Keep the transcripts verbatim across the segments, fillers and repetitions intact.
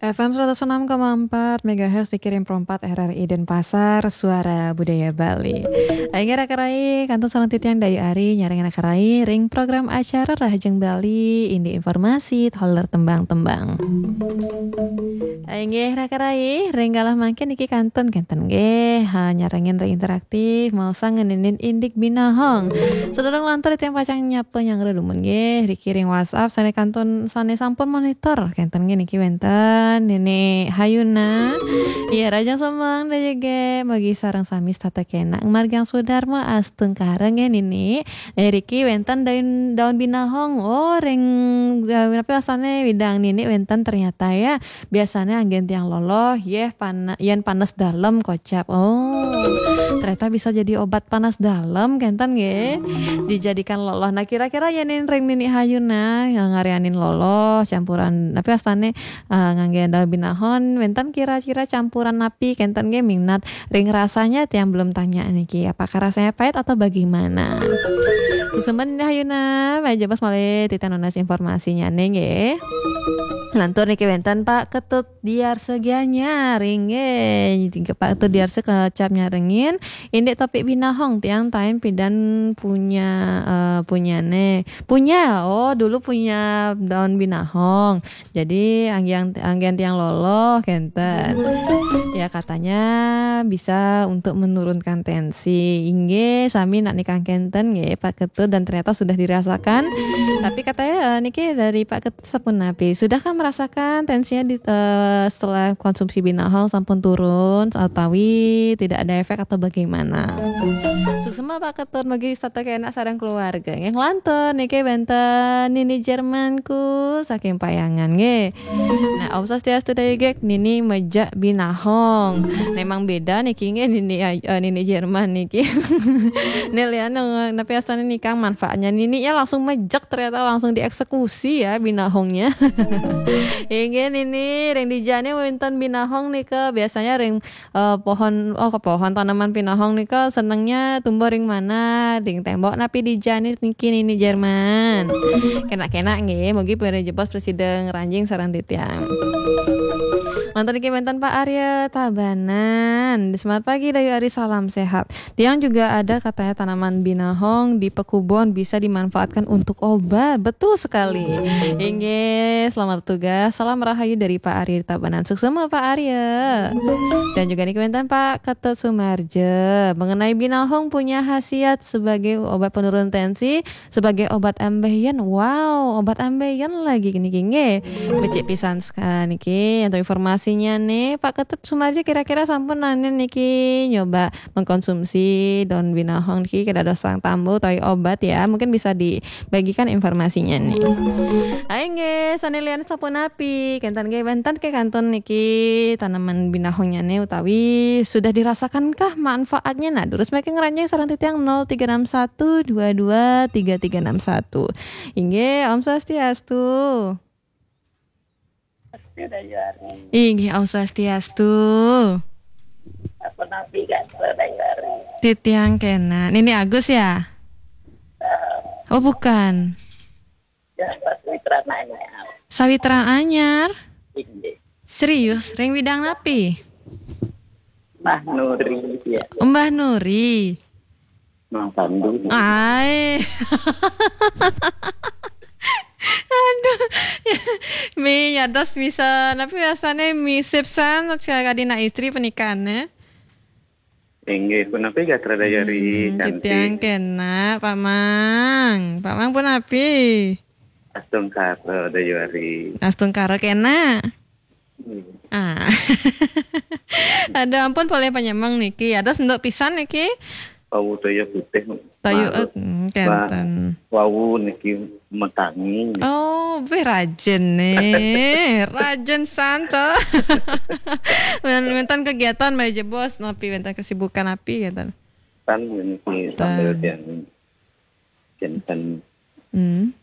F M seratus enam koma empat megahertz dikirim perempat R R I Denpasar, Suara Budaya Bali. Inggih raka rai, kantun sareng titiang Dayu Ari nyarengin raka rai ring program acara Rahajeng Bali, indik informasi taler tembang-tembang. Inggih raka rai, ring galah mangkin niki kantun kenten nggih, ha, nyarengin ring interaktif, maosang ngeninin indik binahong. Sadurung lantur titiang pacang nyapa nyanggra dumun nggih, riki ring WhatsApp sane kantun sane sampun monitor kenten nggih niki wenten Nini Hayuna. Iya, Rahajeng semeng Dayu nggih, mugi sareng sami setata kenak. Margiang Sudarma astungkara nggih Nini. Eh, riki wenten daun, daun binahong. Oh, ring, eh, napi wastane widang Nini wenten ternyata ya. Biasane anggen tiang loloh, yeh pan-, yen panes dalem kocap. Oh, ternyata bisa jadi obat panas dalem kenten nggih. Dijadikan loloh. Nah, kira-kira yen ring Nini Hayuna, nah, ngarianin loloh campuran napi wastane, eh, ngangge daun binahong, wenten kira-kira campuran napi kenten nggih minat ring rasanya tiang belum tanya niki. Apakah rasanya pahit atau bagaimana? Suksma Nini Hayuna, malih jebos malih titiang nunas informasinya nggih. Lantur niki wenten Pak Ketut Diarsa Gianyar, inggih Pak Ketut Diarsa kocap nyarengin, indik topik binahong tiang tain pidan punya, eh, punyane. Punya, oh dulu punya daun binahong. Jadi anggian, anggian tiang loloh kenten. Ya katanya bisa untuk menurunkan tensi. Inggih, sami nak nikang kenten nggih Pak Ketut dan ternyata sudah dirasakan. Tapi katanya, eh, niki dari Pak Ketut sapunapi? Sudahkah merasakan tensinya di, eh, setelah konsumsi binahong sampun turun atawi tidak ada efek atau bagaimana? Suksma Pak Ketut, mugi setata kenak sareng keluarga. Nggih lantur niki wenten Nini Jermanku saking Payangan nggih. Nah, Om Swastiastu Dayu nggih, Nini mejak binahong. Memang beda niki nggih Nini, eh, Nini Jerman niki. Nih lian, eh, napi wastane nikang manfaatnya. Nini ya langsung mejak ternyata langsung dieksekusi ya binahongnya. Inggih Nini, ring dijane wenten binahong nika biasanya ring, eh, pohon, oh ke pohon tanaman binahong nika senengnya tumbuh ring mana? Ring tembok napi dijane niki Nini Jerman. Kenak-kenak nggih, mugi pun jebos prasida ngranjing sareng titiang. Lantur niki wenten Pak Arya Tabanan. Selamat pagi Dayu Ari, salam sehat. Tiang juga ada katanya tanaman binahong di pekubon bisa dimanfaatkan untuk obat. Betul sekali. Inggih, selamat tugas. Salam rahayu dari Pak Arya Tabanan. Suksma Pak Arya. Dan juga niki wenten Pak Ketut Sumarja. Mengenai binahong punya khasiat sebagai obat penurun tensi, sebagai obat ambeien. Wow, obat ambeien lagi niki nggih. Becik pisan sekali niki. Untuk informasinya nih, Pak Ketut Sumarji kira-kira sampun nanin niki nyoba mengkonsumsi daun binahong niki kedados sang tambu utawi obat ya. Mungkin bisa dibagikan informasinya nih. Ayo nggih, sane lian sapunapi? Kenten nggih, wenten ke kantun niki tanaman binahongnya nih utawi sudah dirasakankah manfaatnya? Nah, durus mangkin ngranjing sareng titiang nol tiga enam satu dua dua tiga tiga enam satu. Inggih, Om Swastiastu. Swastiastu, Dayu Ari. Inggih, Om Swastiastu. Apa napi kan, Dayu Ari? Titiang kena. Nini Agus ya? Eh, oh, bukan. Ya, Sawitra Anyar. Sawitra Anyar? Inggih. Serius, ring widang napi? Mbah Nuri, ya. Mbah Nuri. Mang Pandu. Ai. Aduh. Mi nyados misa, napi rasane misip san, sekali nak istri pernikahan, eh? Inggih, punapi gatra Dayu Ari, hmm, cantik. Titiang kena, Pak Mang. Pak Mang punapi? Astungkara, Dayu Ari. Astungkara kena. Hmm. Ah. Aduh, ampun, polih panyemeng niki. Aduh, senduk pisan niki. Wau toya putih. Toya, eh, hmm, kenten. Wau niki metangi. Oh, wih, rajin nih. Rajin santo. Wenten kegiatan malih jebos napi, wenten kesibukan napi kenten? Tan niki sambil kenten. Hmm.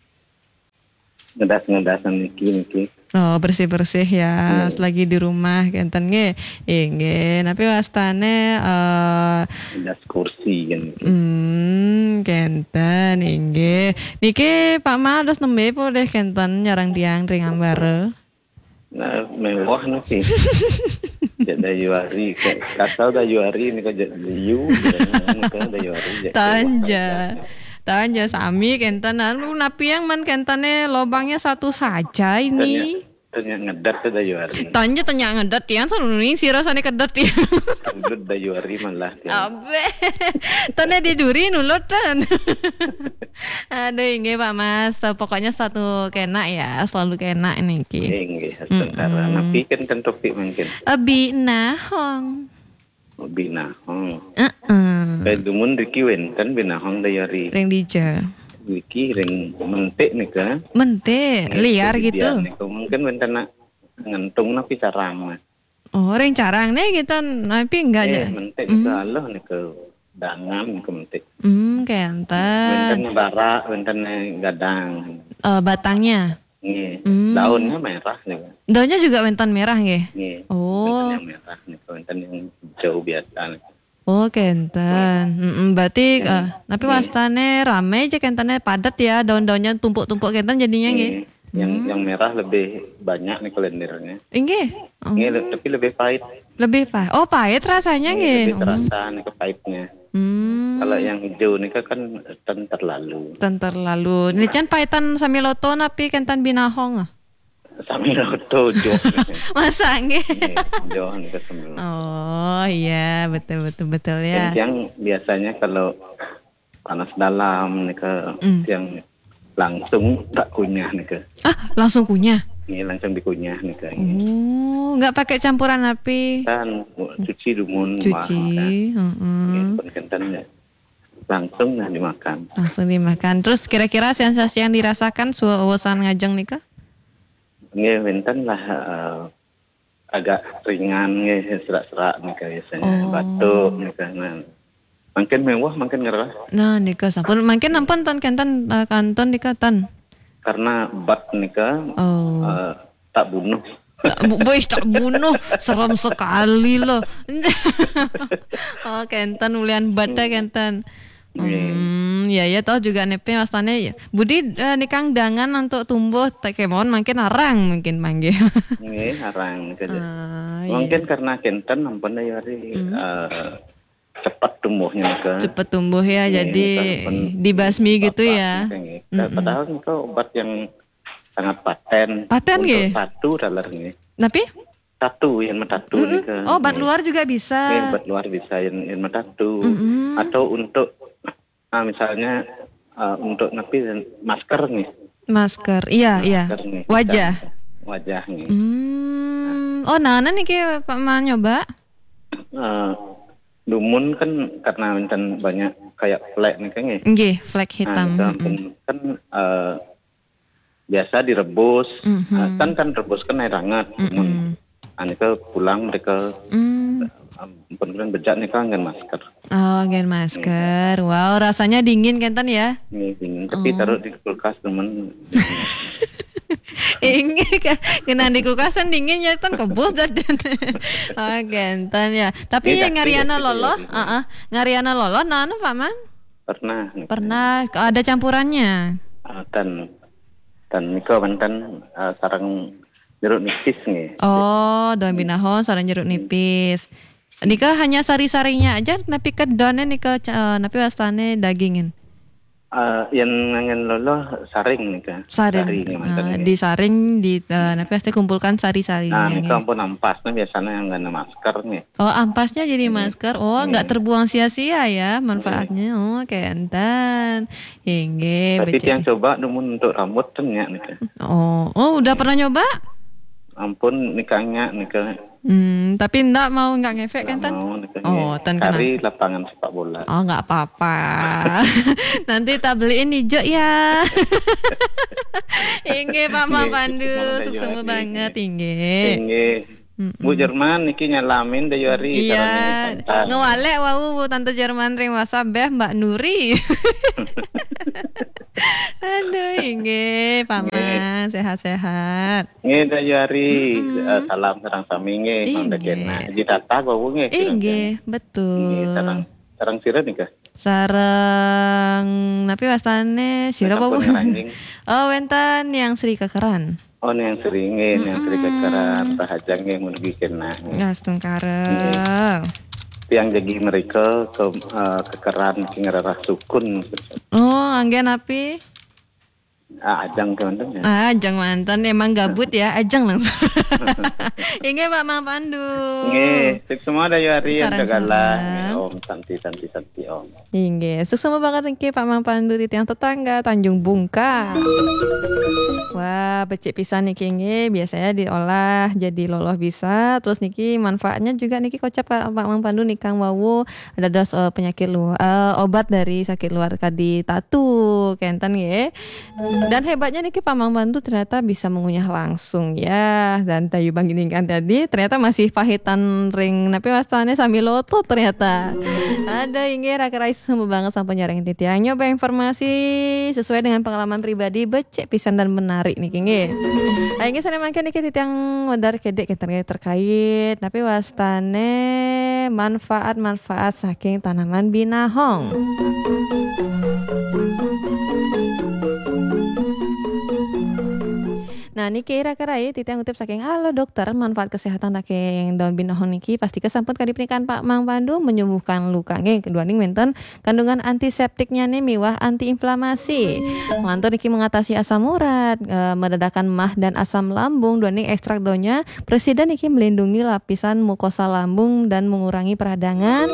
Ngedas-ngedasan niki, niki. Oh, bersih-bersih ya, hmm, selagi di rumah kenten nggih. Inggih, napi wastane, eh, ngedas kursi kan niki. Hmm, kenten inggih. Niki Pak Mang dados nembe polih kenten nyareng tiang ring ambara? Nah, mewah napi. Jak Dayuari, kata Dayuari nika jak liu, nika Dayuari jak Tanja. Tanja sami kenten anu napi yang man kentene lobangnya satu saja ini. Tanya ngedat ke Dayuari. Tanja tanya ngedat tiang saluning sira sane kedet tiang. Ulut Dayuari malah tiang. Abe. Tane di duri nulut ten. Aduh, inggih Pak Mas. Pokoknya satu kena ya, selalu kena niki. Inggih, astungkara. Napi kenten topik mangkin? Abi nahong. Binahong. Heeh. Kayak dumun riki wenten binahong Dayuari. Ring dija. Riki ring mentik nika. Mentik, liar gitu. Nika mungkin wenten nak ngentung napi carang mah. Oh, ring carang nih gitu, napi enggak Eh, aja. mentik nika aluh nika dangan nika mentik. Hmm, kenten. Wenten bara, wenten gadang. Eh, batangnya. Nggih. Hmm. Daunnya merah nika. Daunnya juga wenten merah nggih. Nggih. Oh. Wenten yang merah nika, wenten yang hijau biasa nika. Oh, kenten. Mm-mm, berarti eh, tapi wastane rame aja kentene padat ya, daun-daunnya tumpuk-tumpuk kenten jadinya nggih. Nggih. Yang yang merah lebih banyak nih lendirnya. Inggih. Oh, Nggih, le- tapi lebih pahit. Lebih pahit. Oh, pahit rasanya Nggih, nggih. Lebih terasa nih pahitnya. Hmm. Kalau yang hijau nih kan ten terlalu. Ten terlalu. Ini can pahitan sami loto napi kenten binahong. Sami loto jok. Masa nggih? Nggih, jok nih sami. Oh, iya, betul betul betul Dan ya. yang biasanya kalau panas dalam nih ke Hmm. yang langsung tak kunyah nih ke. Ah, langsung kunyah. Ini langsung dikunyah nih ke. Oh, nggak pakai campuran napi. Kan cuci dumun Cuci. wah, kan. Heeh. Nggih, pun kenten ya. Langsung nah dimakan. Langsung dimakan. Terus kira-kira sensasi yang dirasakan suwesan ngajeng nika? Nggih, wenten lah eh, agak ringan nggih serak-serak nih biasanya. Oh. Batuk nih kan. Nah. Mungkin mewah, mungkin ngerah. Nah, nika sampun mungkin ampun ten kenten eh, kanton nika ten. Karena bat nika Oh. eh, tak bunuh. Tak, bu- boy, tak bunuh, serem sekali loh. Oh, kenten ulian bata kenten. Hmm, ya ya toh juga nepe mastane ya. Budi eh, nikang dangan untuk tumbuh tak kemon mungkin arang mungkin manggih. Nggih, arang nika. Ah, iya. Mungkin karena kenten ampun Dayuari eh, cepat tumbuhnya nika. Cepet tumbuh ya, Iya, jadi kan pen- dibasmi gitu Bapak ya. nika nggih. Padahal nika obat yang sangat paten. Paten Untuk nggih? Tatu taler nggih. Tapi Tatu yang metatu nika. oh, obat Nggih. luar juga bisa. Nggih, obat luar bisa yang, yang metatu. Mm-mm. Atau untuk ah, misalnya ah, untuk napi masker nih. Masker, iya iya. Masker nih. Wajah. Wajah nih. Hmm. Oh, nah, nah niki Pak Man nyoba. Eh, dumun kan karena wenten banyak kayak flek nih kan nggih. Nggih, flek hitam. Nah, Mm-mm. kan eh, biasa direbus. Mhm. Nah, kan kan rebus kan air hangat. Dumun. Mm-mm. Nah, nika pulang mereka Hmm. um, pun bejak nih kan dengan masker. Oh, gen masker. Wow, rasanya dingin kenten ya. Ini dingin, tapi taruh di kulkas teman. Inggih kan, kena di kulkas kan dingin ya kan kebus dan. Oh, kenten ya. Tapi Ini ya daging ngariana gitu loloh, ya. Heeh. Ngariana loloh nah anu Pak Man? Pernah. Nih. Pernah ada campurannya. Ah, tan tan nika wenten ah, sarang jeruk nipis nih. Oh, daun binahong sarang jeruk nipis. Nika hanya sari-sarinya aja napi ke daunnya nika ca- napi wastane dagingin. Ah, yang ngangen loloh saring nih kan. Saring. Sari nih mantan Ah, nih. Disaring di eh, napi pasti kumpulkan Nah, sari-sarinya. nika Nggih. Ampun ampasnya biasanya yang nggak ada masker nih. Oh, ampasnya jadi masker. Oh, nggak terbuang sia-sia ya manfaatnya. Oh, kenten. Inggih, Tapi becik. Yang coba dumun untuk rambut kan ya nih kan. Oh, oh udah pernah nyoba? Ampun nikahnya nih kan. Hmm, tapi ndak mau nggak ngefek kan Nggak tan? Mau nih kan. Oh, tan kena. Cari lapangan sepak bola. Oh, nggak apa-apa. Nanti tak beliin hijau ya. Inggih Pak Man Nggih, Pandu, sukses sukses banget, banget inggih. Inggih. Bu Jerman niki nyalamin Dayuari. Iya, ngewalek wau Bu Tante Jerman ring WhatsApp beh Mbak Nuri. Aduh, inggih, Pak Man, sehat-sehat. Nggih Dayuari, eh, salam sareng sami nggih. Inggih. Mangda kena. Ji tata wau nggih. Inggih, Nggih, betul. sareng sareng sira nika. Sareng napi wastane sira Sampun wau? ngeranjing. Oh, wenten yang Sri Kekeran. Oh, yang sering, yang sering kekeran, tahaja nggih mun dugi kena. Nah, setungkara. Tiang jagi mereka ke, eh, kekeran sing ngererah sukun. Oh, anggen api? Ah, ajang kemanten ya. Ah, ajang manten emang gabut ya, ajang langsung. Inggih Pak Mang Pandu. Nggih, sukses semua Dayu Ari yang segala. Nggih, Om Santi Santi Santi Om. Inggih, suksma banget niki Pak Mang Pandu titiang tetangga Tanjung Bungkal. Wah, becik pisan niki nggih, biasanya diolah jadi loloh bisa. Terus niki manfaatnya juga niki kocap Pak Mang Pandu nikang wau dados, eh, penyakit luar, eh, obat dari sakit luar kadi tatu kenten nggih. Dan hebatnya niki Pak Mang Pandu ternyata bisa mengunyah langsung ya. Dan Dayu Banggining kan tadi ternyata masih pahitan ring napi wastane sami lotot ternyata. Ada inggih Raka Rai semua banget sampun nyarengin titiang nyoba informasi sesuai dengan pengalaman pribadi becik pisan dan menarik niki nggih. Ah, inggih sane mangke niki titiang wedar kedek kenten terkait napi wastane manfaat-manfaat saking tanaman binahong. Nah, niki Raka Rai titiang ngutip saking Halo Dokter, manfaat kesehatan saking daun binahong niki pasti kesampun kadi pernikahan Pak Mang Pandu menyembuhkan luka. Nggih, kedua ning wenten kandungan antiseptiknya nih miwah antiinflamasi. Lantur niki mengatasi asam urat, eh, meredakan mah dan asam lambung, dua ning ekstrak daunnya presiden niki melindungi lapisan mukosa lambung dan mengurangi peradangan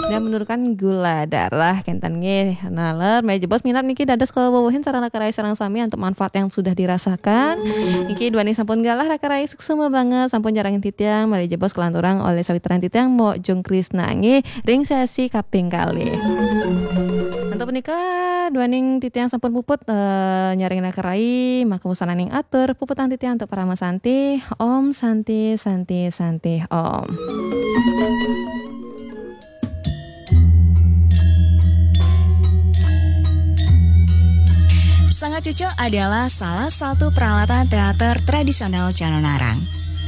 dan menurunkan gula darah. Kenten nggih, naler, mari jebos minat niki dados kawewehin sareng Raka Rai sareng sami untuk manfaat yang sudah dirasakan. Niki dua ning sampun galah Raka Rai suksma banget sampun nyarengin titiang, mari jebos kelanturang oleh sawitran titiang Mbok Jung Krisna nggih ring sesi kaping kalih. Untuk menika dua ning titiang sampun puput, eh, nyarengin Raka Rai, maka wusananing atur puputang titiang untuk Parama Santi. Om Santi Santi Santi Om. Sanggar Cucuk adalah salah satu peralatan teater tradisional Calonarang.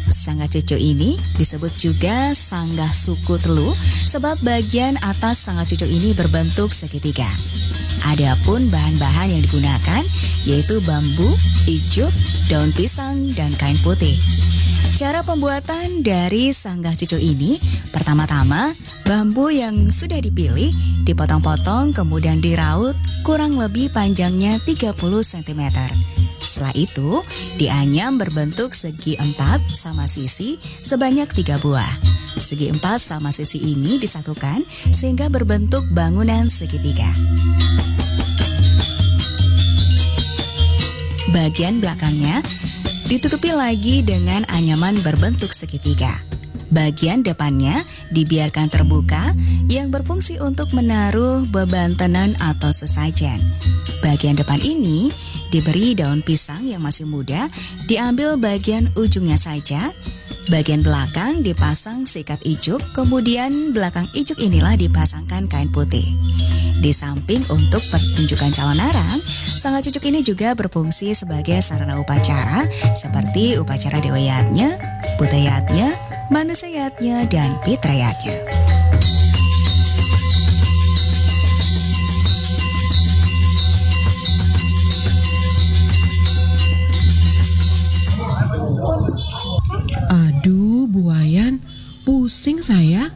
Sanggar Cucuk ini disebut juga Sanggar Suku Telu sebab bagian atas Sanggar Cucuk ini berbentuk segitiga. Adapun bahan-bahan yang digunakan yaitu bambu, ijuk, daun pisang, dan kain putih. Cara pembuatan dari Sanggar Cucuk ini, pertama-tama bambu yang sudah dipilih dipotong-potong kemudian diraut kurang lebih panjangnya tiga puluh sentimeter. Setelah itu, dianyam berbentuk segi empat sama sisi sebanyak tiga buah. Segi empat sama sisi ini disatukan sehingga berbentuk bangunan segitiga. Bagian belakangnya ditutupi lagi dengan anyaman berbentuk segitiga. Bagian depannya dibiarkan terbuka yang berfungsi untuk menaruh beban tenun atau sesajen. Bagian depan ini diberi daun pisang yang masih muda, diambil bagian ujungnya saja. Bagian belakang dipasang sikat ijuk, kemudian belakang ijuk inilah dipasangkan kain putih. Di samping untuk pertunjukan calonarang, Sanggar Cucuk ini juga berfungsi sebagai sarana upacara seperti upacara Dewa Yadnya, Buta Yadnya, Manusia Yadnya, dan Pitra Yadnya. Aduh, Bu Wayan, pusing saya.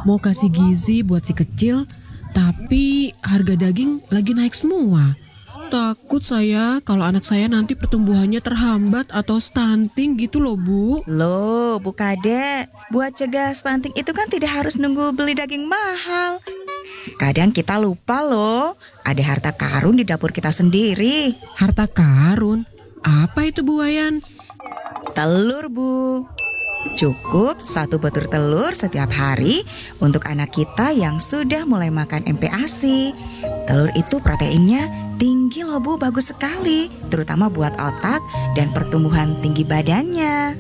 Mau kasih gizi buat si kecil, tapi harga daging lagi naik semua. Takut saya kalau anak saya nanti pertumbuhannya terhambat atau stunting gitu loh, Bu. Loh, Bu Kadek, buat cegah stunting itu kan tidak harus nunggu beli daging mahal. Kadang kita lupa loh, ada harta karun di dapur kita sendiri. Harta karun? Apa itu, Bu Wayan? Telur, Bu. Cukup satu butir telur setiap hari untuk anak kita yang sudah mulai makan M P A S I. Telur itu proteinnya tinggi loh, Bu, bagus sekali, terutama buat otak dan pertumbuhan tinggi badannya.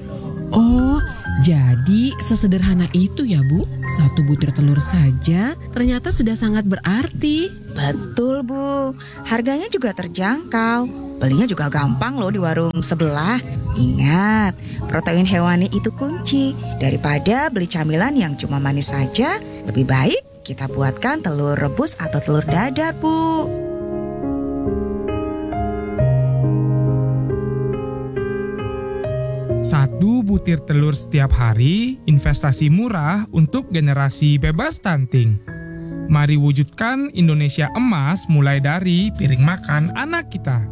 Oh, jadi sesederhana itu ya, Bu? Satu butir telur saja ternyata sudah sangat berarti. Betul, Bu. Harganya juga terjangkau. Belinya juga gampang loh di warung sebelah. Ingat, protein hewani itu kunci. Daripada beli camilan yang cuma manis saja, lebih baik kita buatkan telur rebus atau telur dadar, Bu. Satu butir telur setiap hari, investasi murah untuk generasi bebas stunting. Mari wujudkan Indonesia emas mulai dari piring makan anak kita.